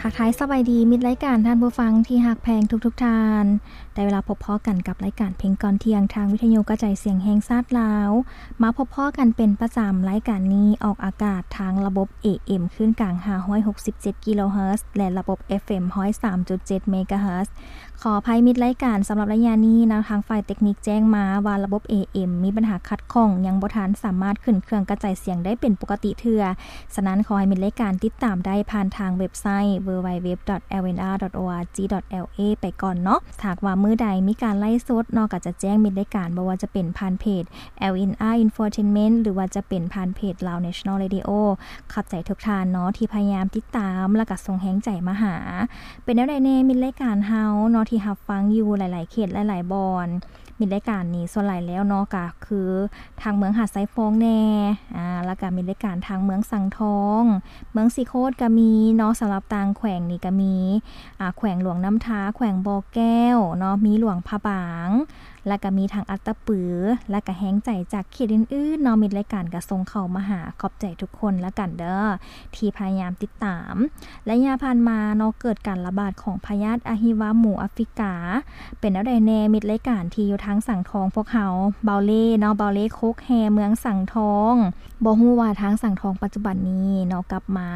ທັກທາຍສະບາຍດີມິດລາຍການທ່ານຜູ້ຟັງທີ່ຮັກແພງທຸກໆທ່ານ. ໄດ້ເວລາພົບພໍ້ກັນກັບລາຍການເພງກ່ອນທ່ຽງ ທາງວິທະຍຸກະຈາຍສຽງແຫ່ງຊາດລາວ. ມາພົບພໍ້ກັນເປັນປະຈຳ, ລາຍການນີ້ອອກອາກາດທາງລະບົບ ເອເອັມ ຄື້ນກາງ ຫ້າຮ້ອຍຫົກສິບເຈັດ ກິໂລເຮີດ ແລະ ລະບົບ ເອັບເອັມ ຮ້ອຍສາມຈຸດເຈັດ ເມກາເຮີດ. ຂໍອະໄພມິດລາຍການສຳລັບໄລຍະນີ້ນະ, ທາງຝ່າຍເຕັກນິກແຈ້ງມາວ່າລະບົບ ເອເອັມ ມີບັນຫາຂັດຂ້ອງ, ຍັງບໍ່ທັນສາມາດຂຶ້ນເຄື່ອງກະຈາຍສຽງໄດ້ເປັນປົກກະຕິເທື່ອ. ສະນັ້ນ ຂໍໃຫ້ມິດລາຍການຕິດຕາມໄດ້ຜ່ານທາງເວັບໄຊ www.lnr.org.la ໄປກ່ອນເນາະ. ຖ້າຫາກວ່າມື້ໃດມີການໄລຟ໌ສົດເນາະ, ກໍຈະແຈ້ງມິດລາຍການ, ບໍ່ວ່າຈະເປັນຜ່ານເພຈ LNR Infotainment ຫຼືວ່າຈະເປັນຜ່ານເພຈ Lao National Radio. ຂອບໃຈທຸກທ່ານເນາະ ທີ່ພະຍາຍາມຕິດຕາມ ແລະ ກໍສົ່ງແຮງໃຈມາຫາ. ເປັນແນວໃດແດ່ມິດລາຍການເຮົາເນາະ ທີ່ຮັບຟັງຢູ່ຫຼາຍໆເຂດຫຼາຍໆບ່ອນ? ມິດລາຍການນີ້ສ່ວນຫຼາຍແລ້ວເນາະ ກໍຄືທາງເມືອງຫາດຊາຍຟອງແດ່ ອາ ແລ້ວກໍມິດລາຍການທາງເມືອງສັງທອງ, ເມືອງສີໂຄດກໍມີເນາະ. ສຳລັບຕ່າງແຂວງນີ້ກໍມີ ອາ ແຂວງຫຼວງນ້ຳທາ, ແຂວງບໍ່ແກ້ວເນາະ, ມີຫຼວງພະບາງ ແລ້ວກໍມີທັງອັດຕະປື ແລ້ວກໍແຮງໃຈຈາກເຂດອື່ນໆເນາະ, ມິດລາຍການກໍສົ່ງເຂົ້າມາຫາ. ຂອບໃຈທຸກຄົນລະກັນເດີ ທີ່ພະຍາຍາມຕິດຕາມ. ໄລຍະຜ່ານມາເນາະ ເກີດການລະບາດຂອງພະຍາດອະຫິວາໝູອາຟຣິກາ. ເປັນແນວໃດແດ່ມິດລາຍການທີ່ຢູ່ທາງສັງທອງພວກເຮົາ? ເບົາເລ່ເນາະ, ເບົາເລ່ໂຄກແຮ່ ເມືອງສັງທອງ. ບໍ່ຮູ້ວ່າທາງສັງທອງປັດຈຸບັນນີ້ເນາະ ກັບມາ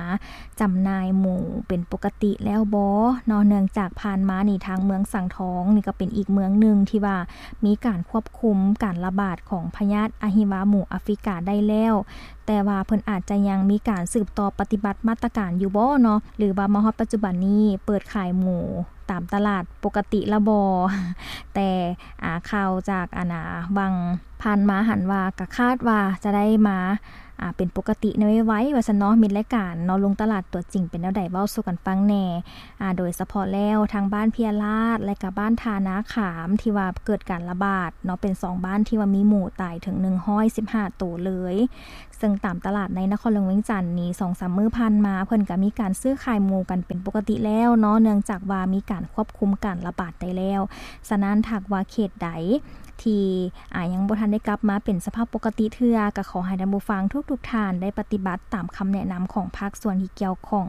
ຈຳໜ່າຍໝູເປັນປົກກະຕິແລ້ວບໍ່ເນາະ? ເນື່ອງຈາກຜ່ານມານີ້ ທາງເມືອງສັງທອງນີ້ກໍເປັນອີກເມືອງໜຶ່ງທີ່ວ່າມີການຄວບຄຸມການລະບາດຂອງພະຍາດອະຫິວາໝູອາຟຣິກາໄດ້ແລ້ວ, ແຕ່ວ່າເພິ່ນອາດຈະຍັງມີການສືບຕໍ່ປະຕິບັດມາດຕະການຢູ່ບໍ່ເນາະ ຫຼືວ່າມາຮອດປັດຈຸບັນນີ້ເປີດຂາຍໝູຕາມຕະຫຼາດປົກກະຕິລະບໍ່? ແຕ່ ອາ ຂ່າວຈາກ ອັນ ອາ ຫວ່າງຜ່ານມາຫັ້ນວ່າ ກະຄາດວ່າຈະໄດ້ມາ ອາ ເປັນປົກກະຕິໃນໄວໆ ວ່າຊັ້ນເນາະ. ມິດລາຍການເນາະ ລົງຕະຫຼາດຕົວຈິງເປັນແນວໃດ ເວົ້າສູ່ກັນຟັງແດ່. ອາ ໂດຍສະເພາະແລ້ວທາງບ້ານເພຍລາດ ແລະ ກະບ້ານທ່ານາຂາມ ທີ່ວ່າເກີດການລະບາດເນາະ ເປັນສອງບ້ານທີ່ວ່າມີໝູຕາຍເຖິງໜຶ່ງຮ້ອຍສິບຫ້າໂຕເລີຍ. ເຊິ່ງຕາມຕະຫຼາດໃນນະຄອນຫຼວງວຽງຈັນນີ້ ສອງສາມມື້ຜ່ານມາ ເພິ່ນກະມີການຊື້ຂາຍໝູກັນເປັນປົກກະຕິແລ້ວເນາະ ເນື່ອງຈາກວ່າມີການຄວບຄຸມການລະບາດໄດ້ແລ້ວ. ສະນັ້ນ ຖ້າຫາກວ່າເຂດໃດທີ່ ອາ ຍັງບໍ່ທັນໄດ້ກັບມາເປັນສະພາບປົກກະຕິເທື່ອ ກໍຂໍໃຫ້ທ່ານຜູ້ຟັງທຸກໆທ່ານໄດ້ປະຕິບັດຕາມຄຳແນະນຳຂອງພາກສ່ວນທີ່ກ່ຽວຂ້ອງ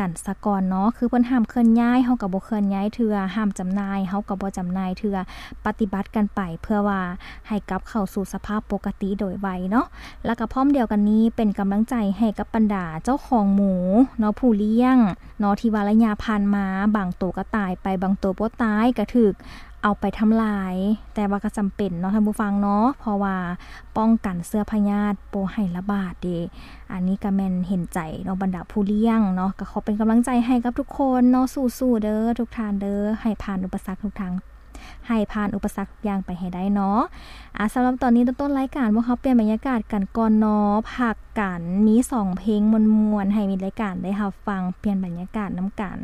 ກັນສາກ່ອນເນາະ. ຄືເພິ່ນຫ້າມເຄື່ອນຍ້າຍ ເຮົາກໍບໍ່ເຄື່ອນຍ້າຍເທື່ອ, ຫ້າມຈຳໜ່າຍ ເຮົາກໍບໍ່ຈຳໜ່າຍເທື່ອ, ປະຕິບັດກັນໄປ ເພື່ອວ່າໃຫ້ກັບເຂົ້າສູ່ສະພາບປົກກະຕິໂດຍໄວເນາະ. ແລ້ວກໍພ້ອມດຽວກັນນີ້ ເປັນກຳລັງໃຈໃຫ້ກັບບັນດາເຈົ້າຂອງໝູເນາະ ຜູ້ລ້ຽງເນາະ ທີ່ວ່າໄລຍະຜ່ານມາ ບາງໂຕກໍຕາຍໄປ, ບາງໂຕບໍ່ຕາຍ ກໍຖືກເອົາໄປທຳລາຍ. ແຕ່ວ່າກໍຈຳເປັນເນາະທ່ານຜູ້ຟັງເນາະ, ເພາະວ່າປ້ອງກັນເຊື້ອພະຍາດບໍ່ໃຫ້ລະບາດເດ. ອັນນີ້ກໍແມ່ນເຫັນໃຈເນາະ ບັນດາຜູ້ລ້ຽງເນາະ. ກໍຂໍເປັນກຳລັງໃຈໃຫ້ກັບທຸກຄົນເນາະ, ສູ້ໆເດີ ທຸກທ່ານເດີ, ໃຫ້ຜ່ານອຸປະສັກທຸກທາງ ໃຫ້ຜ່ານອຸປະສັກທຸກຢ່າງໄປໃຫ້ໄດ້ເນາະ. ອາ ສຳລັບຕອນນີ້ ຕົ້ນໆລາຍການ ພວກເຮົາປ່ຽນບັນຍາກາດກັນກ່ອນເນາະ, ພັກກັນ ມີສອງເພງມ່ວນໆ ໃຫ້ມິດລາຍການໄດ້ຮັບຟັງ, ປ່ຽນບັນຍາກາດນຳກັນ.